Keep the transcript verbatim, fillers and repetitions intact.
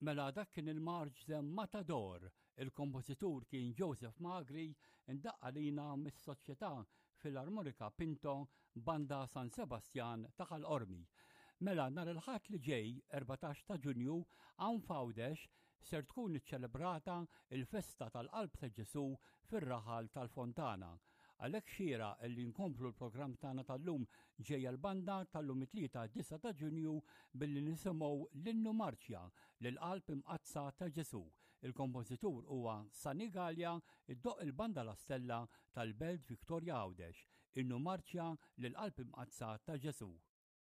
Mela dak kien il-marċ The Matador, il-kompożitur kien Joseph Magri, indaqq għalina mis-Soċjetà Filarmonika Pinto Banda San Sebastian ta' Ħal Qormi. Mela nhar il-Ħadd li ġej, erbatax ta' Ġunju, hawn f'Għawdex ser tkun iċċelebrata il-festa tal-Qalb ta' Ġesu fir-raħal tal-Fontana. Għalhekk xieraq illi nkomplu l-programm tagħna tal-lum ġejja l-banda tal-lum it-Tlieta disgħa ta' Ġunju billi nisimgħu l-innu marċja lill-Qalb Imqaddsa ta' Ġesu. Il-kompożitur huwa Sani Galea, iddoqq il-Banda La Stella tal-Belt Victoria Għawdex. Innu marċja lill-Qalb Imqaddsa ta' Ġesu.